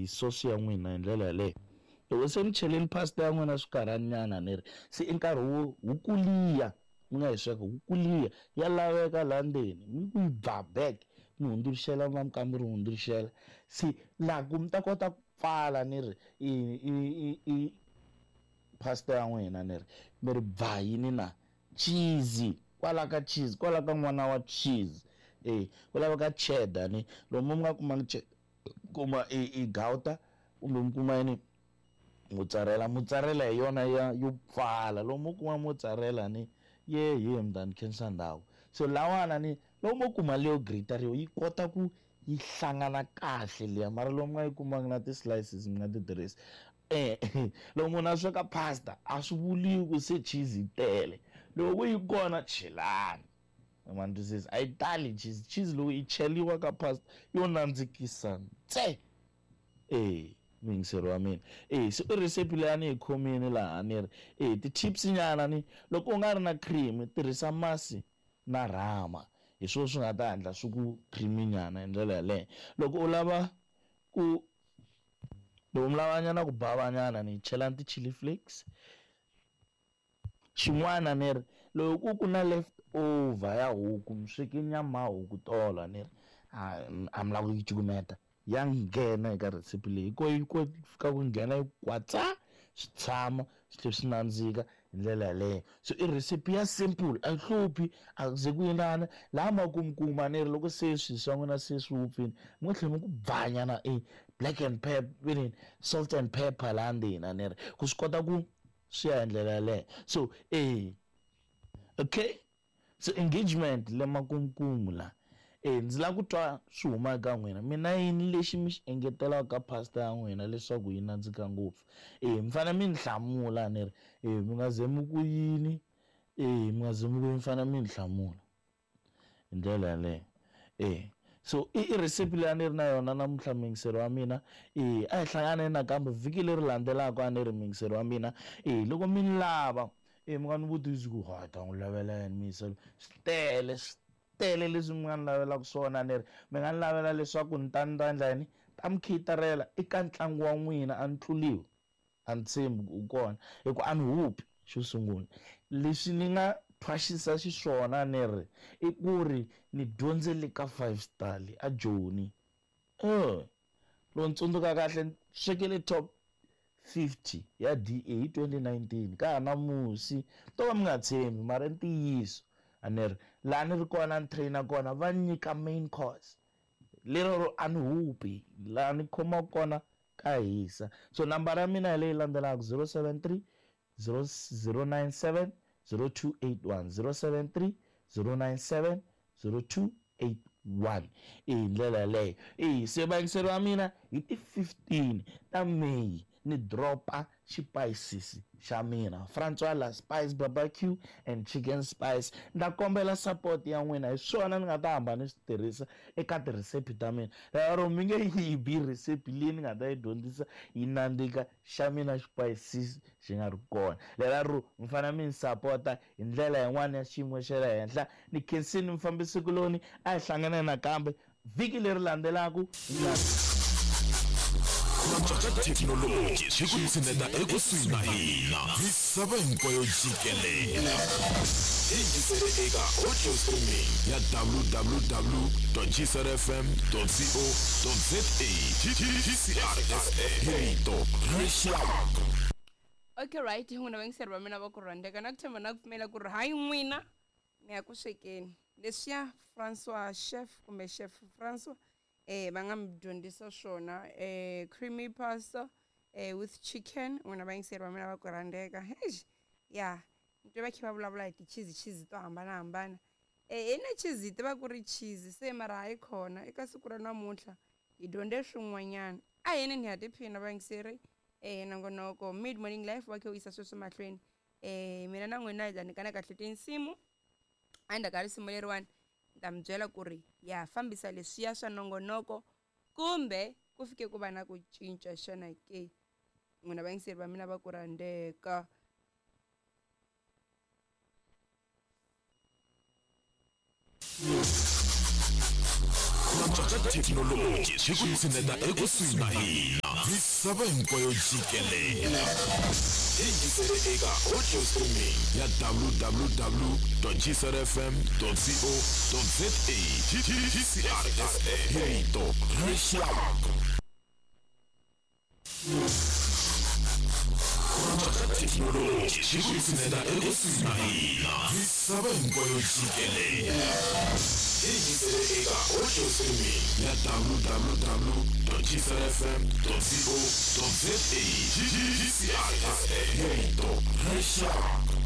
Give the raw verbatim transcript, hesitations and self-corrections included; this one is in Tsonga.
Sauce ya n'wina hi ndlela yaleyo. Loko se mi cheleni pasta ya n'wina swikarhanyana ni ri se i nkarhi wo huku liya mi nga yi sweka huku liya ya laveka laha ndzeni mi ku yi ba back mi hundzuluxela va mi hundzuluxela se laha ku mi ta kota ku pfala ni ri i i i i pasta ya n'wina ni ri mi ri ba yini na cheese kwala ka cheese kwala ka n'wana wa cheese eh ku laveka cheddar ni lomu mi nga kumanga cheddar kuma i i gauta kumbe mi kuma yini mozzarella mozzarella hi yona ya yo pfala lomu kuma mozzarella ni ye ye mndani khensa ndhawu so lawana ni lomu kuma leyo grater yi kota ku yi hlangana kahle liya mara lomu nga yi kumanga na ti-slices mi nga ti tirhisi eh loko munhu a sweka pasta a swi vuliwi ku se cheese yi tele loko yi kona chelani ma ni twisisa a yi tali cheese cheese loko yi cheliwa ka pasta yo nandzikisa ntse eh muyingiseri wa mina eh se i recipe leyi a ni yi khomini laha ni ri eh ti-chips nyana ni loko u nga ri na cream tirhisa masi na rhama hi swona swi nga ta hatla swi ku creamy nyana hi ndlela yaleyo loko u lava ku loko mi lava nyana ku bava nyana ni chelani ti-chili flakes xin'wana ni ri loko ku ku na left over ya huku mi sweke nyama ya huku tolo ni ri a a mi lava ku yi cukumeta ya nghena eka recipe leyi ko yi ko fika ku nghena yi kwatsa swi tshama swi tlhela swi nandzika hi ndlela yaleyo so i recipe ya simple a yi hluphi a ku ze ku yinana laha makumukuma ni ri loko se swilo swa n'wina se swi wupfile mi nga tlhela mi ku bvanyana i black and pepper yini salt and pepper laha ndzeni a ni ri ku swi kota ku swi ya hi ndlela yaleyo so eh okay so engagement le makumkumu la eh ndzi lava ku twa swi huma eka n'wina mina yini lexi mi xi engetelaka ka pasta ya n'wina leswaku yi nandzika ngopfu eh mi fanele mi ni hlamula ni ri eh mi nga ze mi ku yini eh mi nga ze mi ku yini mi fanele mi ni hlamula hi ndlela yaleyo eh so i i recipe leyi a ni ri na yona namuntlha muyingiseri wa mina eh a hi hlanganeni nakambe vhiki leri landzelaka a ni ri muyingiseri wa mina eh loko mi ni lava eh mi nga ni vutisi ku ha ta n'wi lavela yini muyingiseri swi tele swi tele leswi mi nga ni lavelaka swona ni ri mi nga ni lavela leswaku ni ta ni ta endla yini ta mi khitarela eka ntlangu wa n'wina a ni tluliwi a ni tshembi ku u kona hi ku a ni hupi xo sungula leswi ni nga thwasisa xiswona ni ri i ku ri ni dyondzele ka five star le a Joni eh loko ni tsundzuka kahle ni swekele top fifty ya D A hi twenty nineteen ka ha na musi to va mi nga tshembi mara i ntiyiso a ni ri laha ni ri kona ni trainer kona va nyika main course lero ro a ni hupi laha ni khomaka kona ka hisa so nambara ya mina hi leyi landzelaka zero seven three zero zero nine seven zero two eight one zero seven three zero nine seven zero two eight one i hi ndlela yaleyo e se vayingiseri wa mina hi ti fifteen ta May ni dropa xipayisisi xa mina Francois la Spice Barbecue and Chicken Spice ni ta kombela support ya n'wina hi swona ni nga ta hamba ni swi tirhisa eka tirhesipi ta mina lero mi nge yi bi recipe leyi ni nga ta yi dyondzisa yi nandzika xa mina xipayisisi xi nga ri kona lero mi fanele mi ni sapota hi ndlela yin'wana ya xiyimo xa le henhla ni khensini mufambisikuloni a hi hlangane nakambe vhiki leri landzelaka ka thekinoloji swi ku tshineta ekusuhi na hina misava hinkwayo jikelele yingisele eka audio streaming ya w w w dot g c r f m dot co dot z a G C R F M hi rito ra rixaka. Okay right n'wina vayingiseri va mina va ku rhandzeka na ku tshemba na ku pfumela ku ri hayi n'wina mi ya ku swekeni leswiya Francois chef kumbe chef Francois eh va nga mi dyondzisa swona eh creamy pasta eh with chicken n'wina vayingiseri va mina va ku rhandzeka eish ya ni twe va kha va vulavula hi ti-cheese cheese to hambanahambana eh ina cheese hi tiva ku ri cheese se mara hayi khona eka siku ra namuntlha hi dyondze swin'wanyana a hi ni ha tiphina vayingiseri eh nongonoko mid morning life wa khe u yisa sweswo mahlweni eh mina na n'wina hi ta nyikana kahle tinsimu endzhaku ka risimu leriwani ni ta mi byela ku ri ya fambisa leswiya swa nongonoko kumbe ku fike ku va na ku cinca xana ke n'wina vayingiseri va mina va ku rhandzeka. Cinca ka thekinoloji swi ku tshineta ekusuhi na hina. Misava hinkwayo jikelele. Yingisele eka audio streaming ya w w w dot g c r f m dot co dot za. G C R F M, rito ra rixaka. Cinca ka thekinoloji swi ku tshineta ekusuhi na hina. Misava hinkwayo jikelele. Yingisele eka audio streaming ya w w w dot g c r f m dot co dot za. G C R F M, rito ra rixaka.